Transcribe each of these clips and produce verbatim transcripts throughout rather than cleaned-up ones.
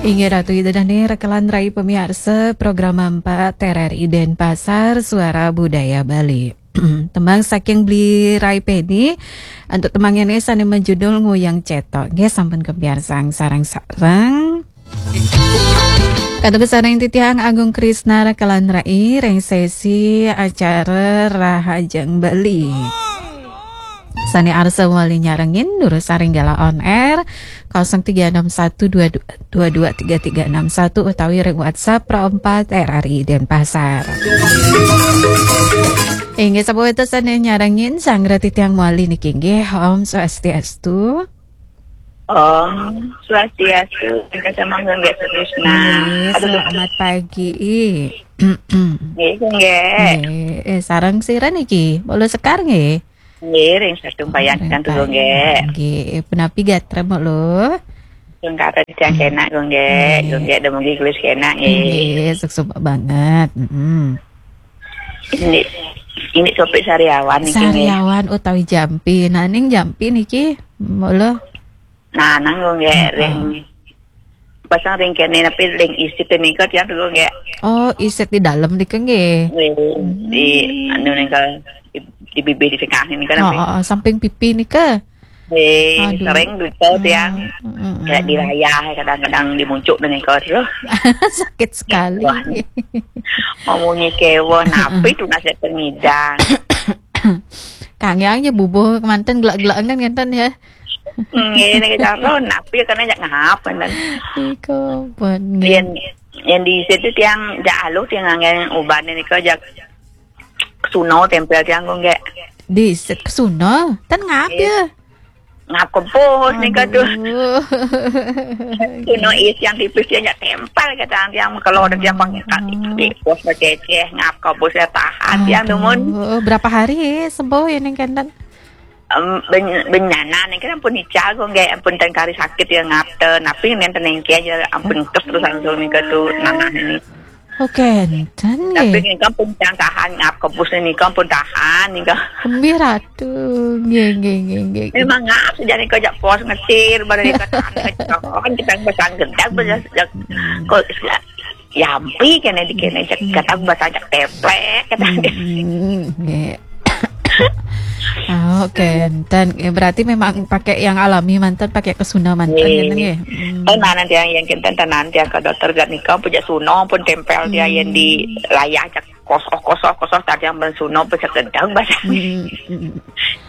Inggih Ratu Ida Dane, rekelan rai pemiarsa program empat R R I Denpasar, Suara Budaya Bali. Tembang saking Bli Rai Peni, antuk tembang ini sane menjudul Nguyang Cetok. Nggih, sampun kepiarsang sareng-sareng. Katuku sareng titiang Agung Krisna rekelan rai ring sesi acara Rahajeng Bali. Sane arsa wali nyarengin durus saring gala on air kosong tiga enam satu dua dua dua tiga tiga enam satu utawi ring WhatsApp Pro empat R R I Denpasar. Inggih, sapa weta sane nyarengin sanggra titiang wali niki nggih, Om Swastiastu. Om Swastiastu, Kak Samangga nggih Krishna. Nggih, selamat pagi. Nggih, nggih. Nggih, eh, sareng sira niki? Mula Sekar nggih? Nggih, ring Satumpayan kan tuh nggih. Nggih, punapi gatra mula? Sungkara titiang kenak nggih, nggih. Nggih, dumugi gelis kenak nggih. Nggih, suksma banget. Mm-mm. Ini, ini topik sariawan niki nggih. Sariawan utawi jampi. Nah, ning jampi niki mula? Nah, nang nggih, heeh, ring pasang ring kene, tapi ring isit nika tiang dulu nggih. Oh, isit di dalam nika nggih. Nggih, di, hmm, anu nika, di, di bibir di tengah nika. Oh, oh, oh, samping pipi nika. Nggih, aduh, sering duto tiang. Hmm, hmm, kayak di, hmm, rayah, kadang-kadang di muncuk nika terus. Sakit sekali. Wah, mau munyi kewo, napi tu nasib pengidang. Kangyang ya bubuh kemanten gelak-gelak kan ngenten ya. Nggih, niki cara napi kena jak ngap kan. Iko pun nggih. Yen, yen di situ tiang jak aluh tiang ngangge uban nika jak suno tempel tiang kok nggih. Di set ke suno, ten ngap ya. Ngap kebus nika tuh. Aduh. Suno is yang tipis tiang jak tempel kata tiang kalau ada tiang pang di pos beceh ngap kebus ya tahan tiang dumun. Aduh, berapa hari sembuh ini kenten? Em, ben-, benyana niki ampun ical kok nggih, ampun ten kari sakit ya ngap ten. Tapi nenten niki aja ampun kes terus langsung nika tuh nanah ini. Oh, kenten nggih. Tapi nika pun yang tahan ngap kebus nika pun tahan nika. Kembi Ratu. Nggih, nggih, nggih, nggih. Memang ngap sejak nika jak pos ngecir, pada nika tahan ngecon, kita pasang gedak, hmm, pasang jak, hmm, kok yampi kene di kene, cek, hmm, kata bahasa cek teplek, kata. Hmm, nggih. Oh, kenten. Ya, berarti memang pakai yang alami manten, pakai kesuna manten, nggih, ngeten nggih. Hmm. Tenanan tiang yang kenten, tenan tiang ke dokter gak nika, pun jak suno pun tempel tiang yang di, hmm, layah cek kosoh-kosoh, kosoh tadi yang ben suno pun cek gedang bahasa. Hmm, hmm.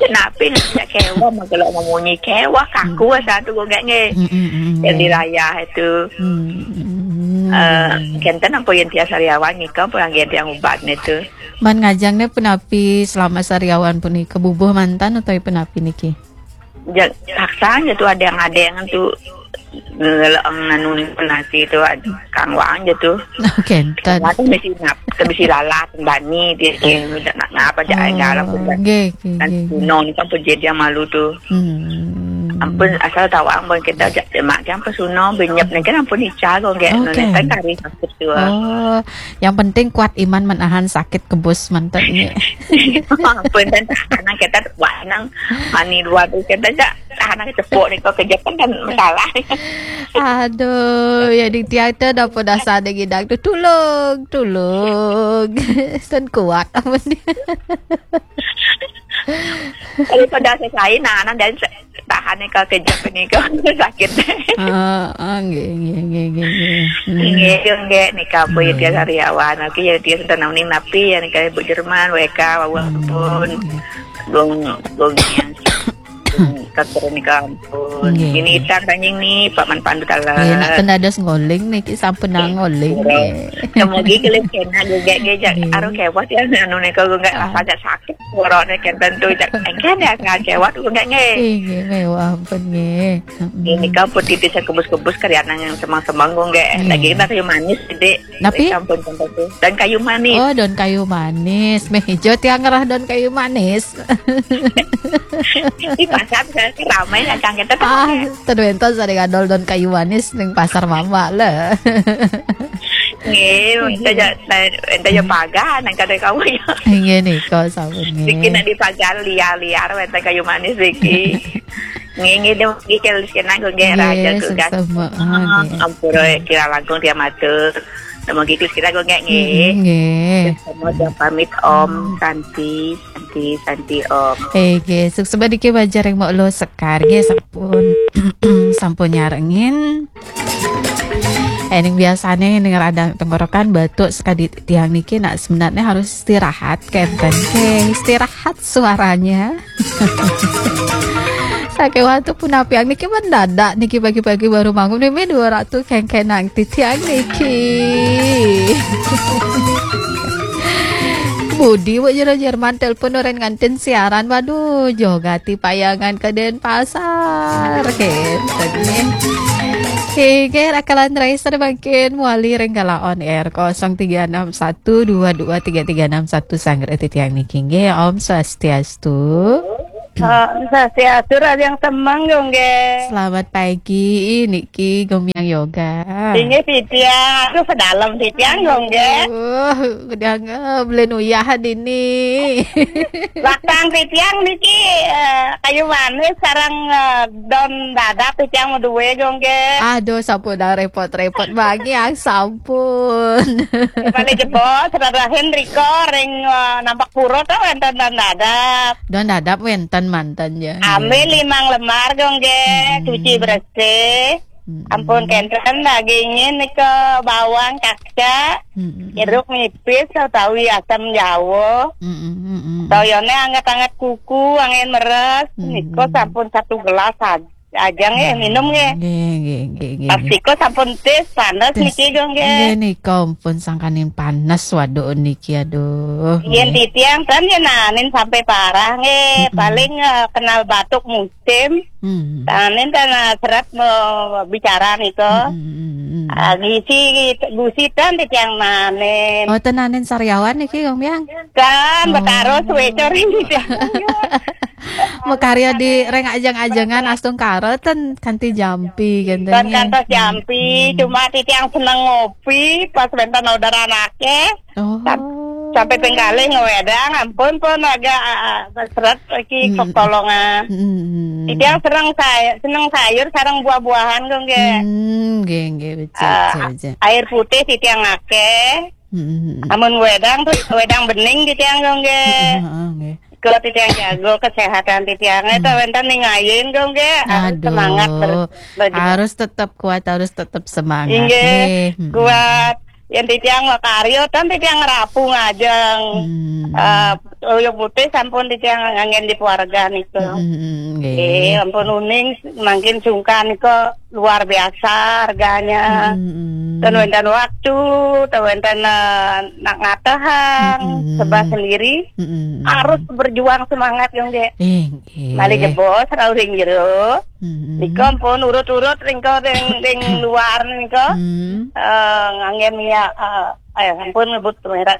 Napi nggih kewa, mah kalau memunyi kewa, kaku, hmm, satu kok nggih nggih. Hmm, hmm, hmm, yang di, nggih, rayah itu. Hmm, hmm, hmm. Eh, kenten apa yang tiang sariawan nika, apa yang tiang ubat itu. Man ngajang ne punapi selama sariawan punika bubuh manten utawi punapi niki? Ja-, paksa aja tuh ada yang, ada yang tuh ngeleng anu nih nasi itu ad-, kang wang aja tuh. Kenten. Mata bisi ngap, bisi lalat bani dia, dia nak ngapa aja, oh, enggak lah pun. Nggih, nggih, kan nggih, nggih. Suno nih kan pun jadi yang malu tuh. Hmm. Ampun asal tahu ampun kita aja mak dia ampun suno benyep nih kan ampun ical kok nggak, oh, nulis kan kari sakit tuh. Oh, yang penting kuat iman menahan sakit kebus manten nggih. Ampun ten tahan kita wah nang mani luar tuh kita aja tahan cepok nih kok kejepit kan masalah. Aduh, ya di tiang tu dah pun dah sadar gidang tu tulung, tulung. Sen kuat apa ni? Daripada selesai nah, nah dan se-, tahan nih kok kejepit nih kok sakit. Ah, ah, nggih, nggih, nggih, nggih, nggih. Hmm. Nggih, yo nggih nika apa ya tiang sariawan. Oke, ya tiang sudah nang ning napi ya nika Ibu Jerman, W K, wawon pun. Nggih. Gong, gong yang kantor nika ampun. Nggih, ini nggih. Itan tanying nih, Pak Man Pandu Taler. Nggih, nak ten dados ngoling niki sampun nang ngoling. Nggih. Semoga kelih kena juga gejak. Nggih. Aruh kewat ya anu nika juga, ah, rasa sakit. Suarane kenten tu, cak, engken ya, ngan kewat, ku nggak nggih. Nggih, mewah ampun nggih. Mm-mm. Ini kan pun titis kebus-kebus karyanan yang semang-semang, ku nggak. Nggih. Lagi kita kayu manis, Dik. Napi? Sampun kenten tu. Dan kayu manis. Oh, daun kayu manis. Meh hijau tiang ngerah daun kayu manis. Di pasar bisa ramai lah, cang kita. Ah, ten wenten sare ngadol daun kayu manis ning pasar mama lah. Nggih, ente ja, ente ja pagan, nang kadang kamu ya. Nggih nika sampun nggih. Niki nak di pagar liar-liar, wenten kayu manis niki. Nggih, nggih, dumugi Ki Luskena, Gung, nggih, Nggih, raja Gung, suksema, ah, nggih. Ampura kirang langkung diamatur. Dumugi Ki Luskena, Gung, nggih. Mm, nggih. Semua dia pamit, Om. Santi, Santi, Santi, Om. Eh, nggih, suksema niki Bajar yang mau lo sekar, nggih, sampun sampun nyarengin. Eh, ning biasane ning radang tenggorokan batuk sekadi tiang niki nak sebenarnya harus istirahat kenten. Nggih, istirahat suaranya. Saking waktu punapiang niki mendadak niki pagi-pagi baru bangun, mimi dua ratu kengkenang titiang niki. Budi, Bu, jero Jerman telepon orang ngantin siaran. Waduh, jogati payangan ke Denpasar. Kenten nggih. Oke, rakalan Raisa mangkin wali ring gala on air kosong tiga enam satu dua dua tiga tiga enam satu sanggra titiang niki nggih. Om Swastiastu. Om Swastiastu, Raja yang semang, Gung, nggih. Selamat pagi niki Gomyang Yoga. Inggih, titiang, aduh, sedalem titiang, Gung, nggih. Uh, udah nggak beli nuyah dini. Laktang titiang niki, eh, kayu manis sareng, eh, don dadap titiang mau duwe, Gung, nggih. Aduh, sampun dah repot-repot bangi, ah, sampun. Paling jebos, radahin riko ring, eh, nampak pura to wenten don dadap. Don dadap wenten manten ya. Ambil limang lemar, Gung, nggih. Hmm. Cuci bersih. Hmm. Ampun, kenten dagingnya nika bawang, cakca, Hmm. jeruk nipis, utawi asam jawa. Hmm, hmm, hmm, hmm. Toyone anget-anget kuku, angin meres, Hmm. nika sampun satu gelas aj- aja nggih, minum nggih. Nggih, nggih, nggih, nggih, Pas nggih. nika sampun tis, panas Tis. niki, Gung, nggih. Nggih, nika ampun sangkaning panas, waduh niki, aduh. Yen Nggih. titiang ten yen nanin sampai parah nggih, Mm-mm. paling, eh, kenal batuk musim. Hmm. Nanin ten, eh, seret mau bicara nika. Hmm, hmm, hmm, hmm. Ah, gisi, gusi ten titiang nanin. Oh, tenanin sariawan niki, Gomyang? Kan, Oh. betaro suwecor ini. Makarya di ring ajeng-ajengan astungkara ten kanti jampi kenten Kan nggih. kantos jampi, Hmm. cuma titiang seneng ngopi pas wenten orderan akeh. Oh. Sam- Sampai ping kalih ngewedang, ampun pun agak, ah, ah, seret iki Hmm. kekolongan. Hmm, hmm, hmm. Titiang sereng say-, seneng sayur sareng buah-buahan, Gung, nggih. Hmm, nggih, nggih, becik, Ah, becik, becik. Air putih titiang akeh. Hmm, hmm, hmm. Amun wedang tuh wedang bening titiang, Gung, nggih. Heeh, nggih. Kalau titiang jago kesehatan titiang, eh, Hmm. wenten ningayin, Gung, nggih. Harus Aduh. semangat ber-, ber- Harus tetap kuat, harus tetap semangat. Inggih, Nggih. Hmm. kuat. Yang titiang makaryo, kan titiang ngerapu ngajeng. Hmm. Eh, Toyo putih sampun titiang nganggen di keluarga niku. Hmm, hmm, nggih. Eh, ampun uning, mangkin sungkan niku luar biasa harganya. Hmm, hmm. Ten wenten waktu, ten wenten, eh, nak ngatehang, Mm-mm. sebab sendiri Hmm, hmm. Harus berjuang semangat, Gung, nggih. Eh, nggih. Malih jebos rauh ring jero. Hmm, hmm. Nika ampun urut-urut ring ko ring, ring luar nika. Hmm. Eh, nganggen ya, eh, eh, ampun nyebut merek.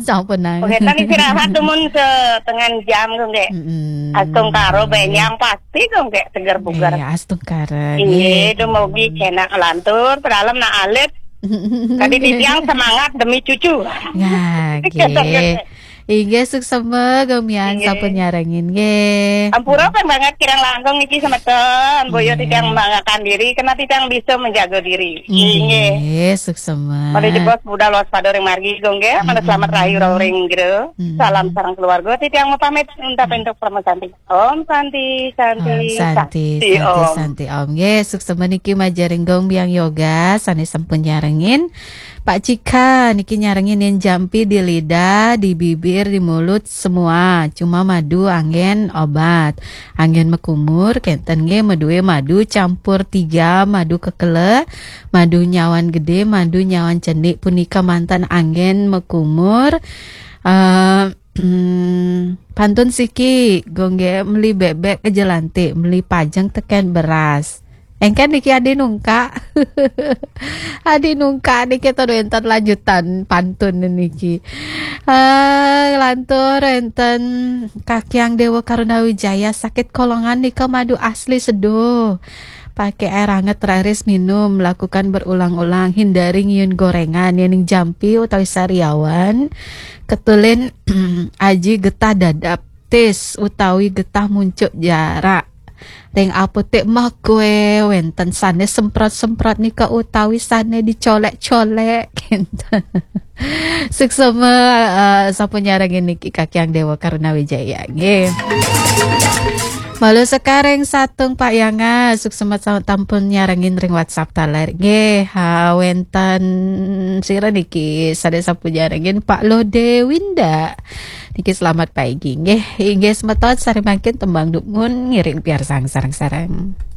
Sampun nang. Pengetan istirahat tumun setengah jam, Gung, nggih. Hmm. Astungkara benjang pasti, Gung, nggih, seger bugar. Eh, astungkara. Inggih, dumugi kenak lantur, pedalem nak alit. Tadi titiang semangat demi cucu. Nah, nggih. Inggih, suksema, Gomyang, Inggih. Sampun nyarengin, nggih. Ampura pun banget kirang langkung niki semeton, boyo Inggih. titiang membanggakan diri, karena titiang bisa menjaga diri. Inggih. Inggih, suksema. Pada jebos budal waspada ring margi, Gung, nggih. Pada Mm-mm. selamat rahayu rauh ring jero. Mm-mm. Salam sareng keluarga. Titiang mau pamit untuk untuk permesante. Om Santi, Santi, Om Santi, Santi, Om. Santi, Om. Nggih, suksema niki majeng ring Gomyang Yoga, sane sampun nyarengin. Pak Cika, niki nyarengin yen jampi di lidah, di bibir, di mulut, semua. Cuma madu anggen obat. Anggen mekumur, kenten nggih madue madu campur tiga, madu kekele, madu nyawan gede, madu nyawan cendik, punika manten anggen mekumur. Eh, Hmm, pantun siki, Gung, nggih, meli bebek ke Jelantik, meli pajeng teken beras. Engken niki adi nungkak. Adi nungkak niki to wenten lanjutan pantun niki. Eh, lantur wenten Kakyang Dewa Karuna Wijaya, sakit kolongan nika madu asli seduh. Pakai air hangat raris minum, lakukan berulang-ulang, hindari ngiun gorengan, yening jampi utawi sariawan, ketulin aji getah dadap tis utawi getah muncuk jarak. Teng apotek Magwe wenten sane semprot-semprot nika utawi sane dicolek-colek. Suksma, eh, sampun nyarengin niki Kakyang Dewa Karuna Wijaya nggih. Malu sekareng satung Pak Yanga, suksma sa-, tampun nyarengin ring WhatsApp taler nggih. Ha, wenten sira niki sane sampun nyarengin Pak Lode Winda. Niki selamat pagi nggih. Inggih semeton, sari mangkin tembang dumun ngiring piarsang sareng-sareng.